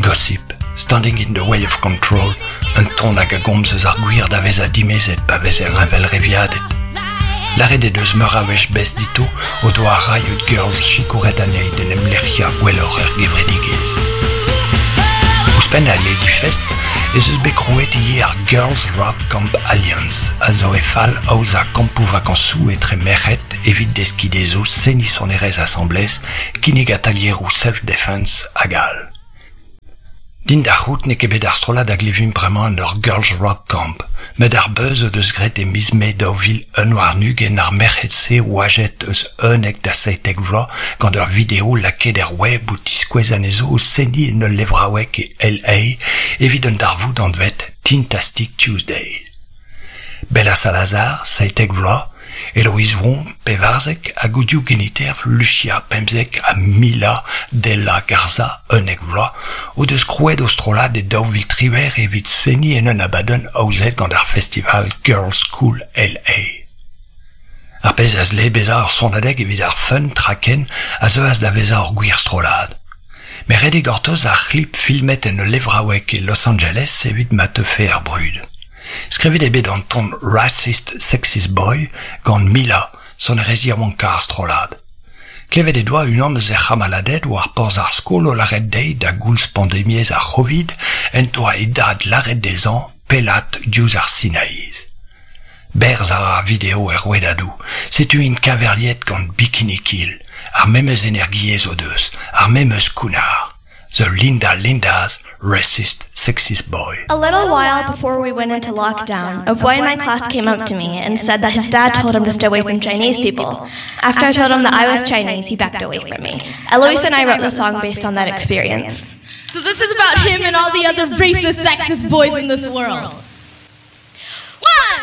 Gossip, Standing in the Way of Control, un ton hag a gomz eus ar gwir da vezañ dimezet pa vezer heñvelreviadet. Lâret he deus meur a wech Bess Ditto o doa ar Riot Girls sikouret anezhi d'en em lec'hiañ gwelloc'h er gevredigezh. Ouzhpenn al Ladyfest ez eus bet krouet ivez ar Girls Rock Camp Alliance a zo he fal aozañ kampoù vakañsoù etre merc'hed evit deskiñ dezho seniñ sonerezh asambles, kinnig atalieroù self-defense hag all. Din da c'hoût n'eo ket bet ar strollad a glevimp bremañ en ur Girls Rock Camp, met ar beuz o deus graet e miz Mae 2021 ar merc'hed-se oajet eus 11 da 17 vloaz gant ur video lakaet er web o tiskouez anezho o seniñ en ul levraoueg e LA evit un darvoud anvet Teentastic Tuesday. Bella Salazar, 17 vloaz, Eloise Won, 14, hag o div geniterv Lucia, 15, ha Mila Della Garza, 11 vloaz, o deus krouet o strollad e 2018 evit seniñ en un abadenn aozet gant ar festival Girls School LA. Ar pezh a zle bezañ ur sonadeg evit ar fun traken a zeuas da vezañ ur gwir strollad. Met ret eo gortoz ar c'hlip filmet en ul levraoueg e Los Angeles evit ma teufe ar brud. Skrivet eo bet an ton Racist Sexist Boy gant Mila, sonerezh yaouankañ ar strollad. Klevet he doa unan eus he c'hamaladed war porzh ar skol o lâret dezhi da goulz pandemiezh ar C'hovid en doa e dad lâret dezhañ pellat diouzh ar Sinaiz. Berzh a ra ar video er rouedadoù, setu int keñveriet gant Bikini Kill, ar memes energiezh o deus, ar memes kounnar. The Linda Lindas Racist Sexist Boy. A little while before we went into lockdown, a boy in my class came up to me and said that his dad told him to stay away from Chinese people. After I told him that I was Chinese, he backed away from me. Eloise and I wrote the song based on that experience. So this is about him and all the other racist, sexist boys in this world.